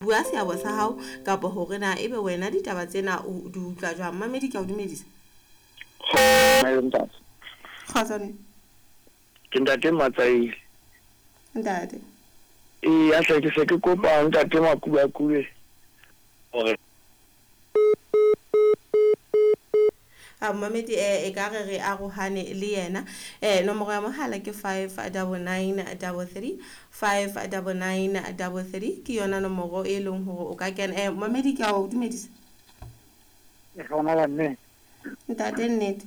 Bua seabo sa hao kapa hore na ebe wena ditaba tsena o di utlwa jwang. Mamedi, ke a o dumedisa. Ntate. Kgotso ne. Ke ntate Matsaile. Ntate. Ee, a hle ke se ke kopa ntate Makubakube hore A momamedi e ka re re arohane le yena. Nomoro ya mohala ke 59933, 59933 ke yona nomoro e leng hore o ka kena. Momamedi, ke a o dumedisa. Hlokomela mme. Ntate, nnete.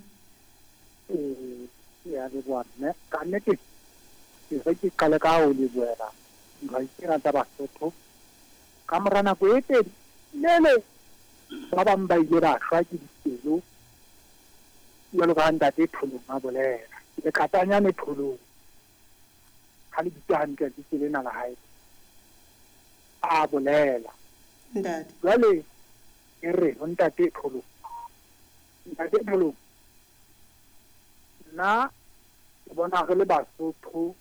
Ee, ya leboha mme. Ka nnete ke re ke qale ka ho lebohela dihwai tsena tsa Basotho. Ka mora nako e telele ba bang ba ile ba shwa ke dipelo jwalo ka ha ntate Tholong a bolela. Lekatanyane Tholong ha le bitse hantle lebitso lena la hae a bolela. Ntate. Jwale ke re ho ntate Tholong, ntate Tholong, nna ke bona re le Basotho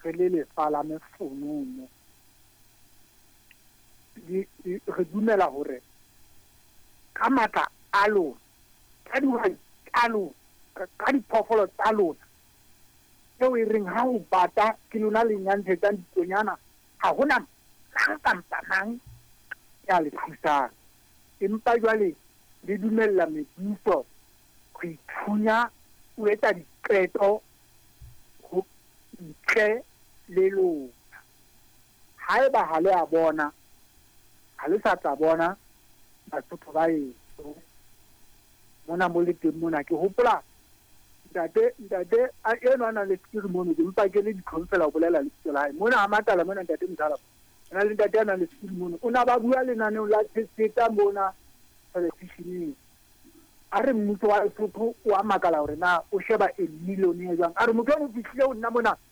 re le lefa la mefonono. Re dumela hore ka matla a lona, ka dihwai tsa lona, ka diphoofolo tsa lona, eo e reng ha ho bata ke lona le nyantshetsang ditonyana, ha hona mang kampa mang ya le thusang. Empa jwale le dumella mebuso ho ithunya o etsa diqeto ho ntle le lona. Haeba ha le a bona, ha le sa tla bona Basotho ba heso mona mo le teng mona. Ke hopola ntate ntate a eno a nang le sekiri mono, ke mpa ke le ditlhong fela ho bolela lebitso la hae mona ha Matala mona. Ntate Mothala o na le ntate a nang le sekiri mono, o na ba bua lenaneong la Tshetseta mona televisioneng. A re mmuso wa Lesotho o a makala hore na o sheba a millionaire jwang. A re motho eno o fihlile ho nna mona.